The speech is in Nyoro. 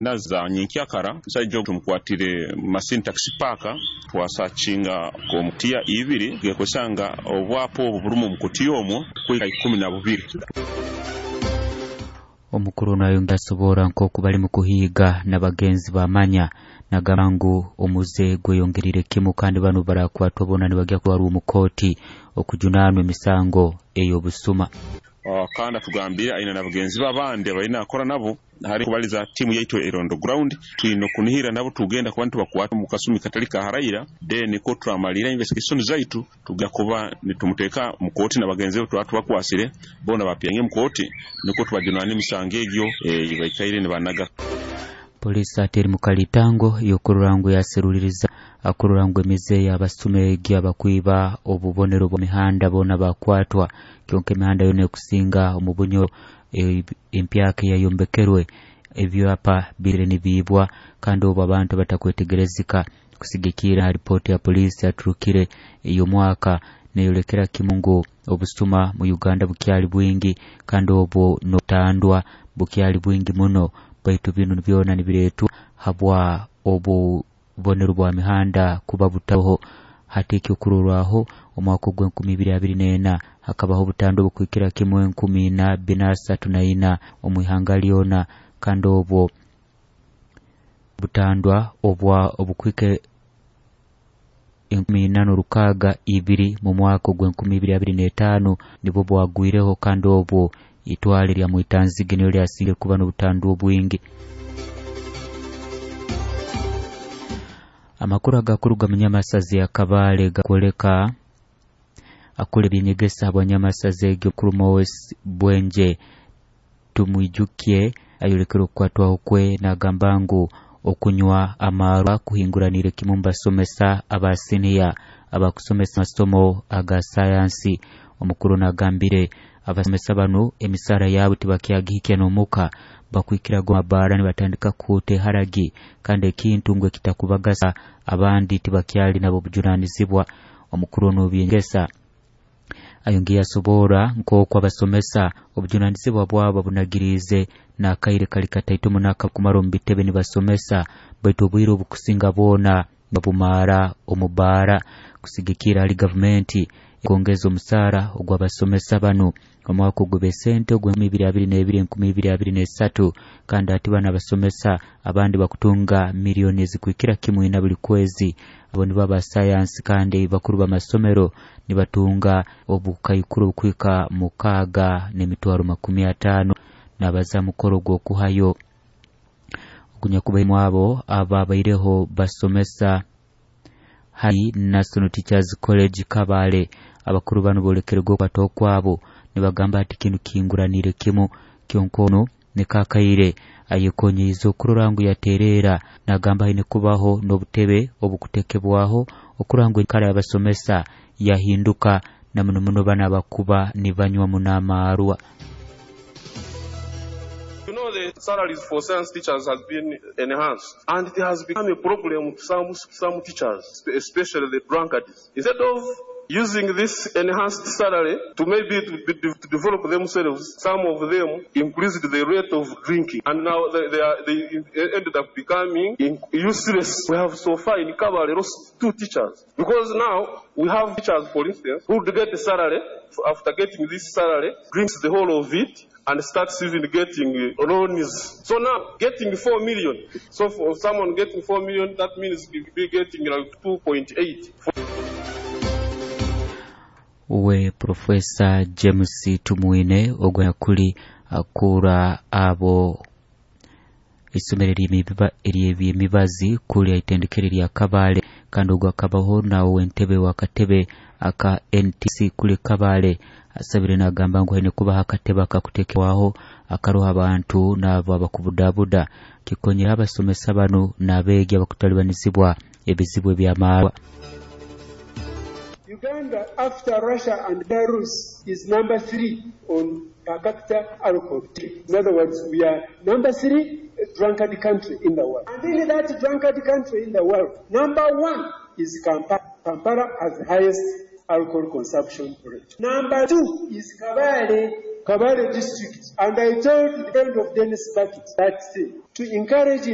Za nyenkyakara, omusaija ogu tumukwatire Masindi Taxi Park. Twasakinga omukutiya ibiri, gekwesanga obwapa obu burimu omukutiya omwo kwika 12. Omukuru nayongera asobora nk'oku bali mu kuhiiga na bagenzi bamanya, nagamba ngu omuze gweyongerire kimu, kandi banu barakwatwa bona nibagya kutwarwa omu kooti okujunanwa emisango ey'obusuma. Kandi atugambire aine na bagenzi be abandi abalina akora nabo. Hari kubaliza tiimu yaitu eri on the ground, twine okunihira nabo tugenda kuba nitubakwata mu kasumi katali kaharaira. Then ko turamalira investigation zaitu, tugenda kuba nitumuteeka mu kooti na bagenzi be tuba tubakwasire bona bapyange mu kooti, nukwo tubajunana emisango egyo baikaire nibanaga. Polisi ate eri mu kalitango y'okurora ngu yaseruliriza akurora ngu emize y'abasuma egi abakwiba obubonero bwa mihanda boona bakwatwa. Kyonka emihanda yona ekusinga omu Bunyoro empyaka eyayombekerwe, ebyapa bire nibiibwa, kandi obu abantu batakwetegerezika. Kusigikira ha ripooti ya polisi yaturukire ey'omwaka, neyolekera kimu ngu obusuma mu Uganda bukyali bwingi, kandi obwo n'obutandwa bukyali bwingi muno, baitu binu byona nibireetwa habwa obubonero bwa mihanda kuba butaho. Hati ekyokurorwaho, omwaka ogw'2024 hakabaho obutandwa obukwikira kimu 4434 omu ihanga lyona, kandi obwo butandwa obwa obukwika 4602 mu mwaka ogw'2025 nibwo bwagwireho, kandi obwo itwale lya Mwitanzige niyo lyasingire kuba n'obutandwa obwingi. Amakuru agakuruga mu Nyamasazi ya Kabale gakwoleka akura ebyenyegesa bwa Nyamasazi egyo mukuru Moses Bwenje Tumwijukye ayolekere okukwatwaho kwe, nagamba ngu okunywa amarwa kuhinguranire kimu mbasomesa aba siniya abakusomesa amasomo aga sayansi. Omukuru nagambire abasomesa banu emisara yabo tibakyagihikya n'omuka, bakwikiraga amabaara nibatandika kuhuta eharagi, kandi ekintu ngu ekitakubagasa, abandi tibakyali nabo obujunanizibwa. Omukuru ono byengesa ayongeye asobora nk'oku abasomesa obujunanizibwa bwabo babunagiriize n'akaire kali kataito muno akakumara omu bitebe nibasomesa, baitu obwire obukusinga bwona babumara omu baara. Kusigikira hali gavumenti kwongeza omusaara ogw'abasomesa banu omwaka ogw'ebesente ogw'2022 2023, kandi ati bano abasomesa abandi bakutunga miliyoni ezikwikira kimu ina buli kwezi. Abo nibo aba sayansi, kandi bakuru b'amasomero nibatunga obukaikuru obukwika 6,050,000. Nabaza mukoro gw'okuhayo ogunyakubairemu abo ababaireho basomesa hari National Teachers College Kabale, abakuru banu bolekere okwata okwabo nibagamba ati kinu kinguranire kimu. Kyonka ono nikakaire ayekonyiize okurora ngu yatereera, nagamba haine kubaho n'obutebe obukutekebwaho okurora ngu enkara y'abasomesa yahinduka, na muno muno bano abakuba nibanywa muno amarwa. You know, the salaries for science teachers has been enhanced, and it has become a problem to some teachers, especially the drunkards. Instead of using this enhanced salary to maybe to develop themselves, some of them increased the rate of drinking, and now they ended up becoming useless. We have so far in Kabale lost 2 teachers, because now we have teachers, for instance, who would get a salary, after getting this salary, drinks the whole of it, and starts even getting loans. So now, getting 4 million. So for someone getting 4 million, that means he'll be getting like 2.8. Uwe Profesa James Tumwine ogwakuli akura abo isomero ery'ebyemibazi kuli aitendekero lya Kabale, kandi ogwo akabaho nawe entebe wakatebe aka NTC kuli Kabale, asabire nagamba ngu haine kubaho akatebe akakutekebwaho akaroho abantu n'abo abakubudabuda kikonyera abasomesa banu n'abeegi abakutalibanizibwa ebizibu eby'amaarwa. Uganda, after Russia and Belarus, is number 3 on per capita alcohol. In other words, we are number 3 drunkard country in the world. And in that drunkard country in the world, number 1 is Kampala. Kampala has the highest alcohol consumption rate. Number 2 is Kabale, Kabale district. And I told the friend of Dennis Bucket that to encourage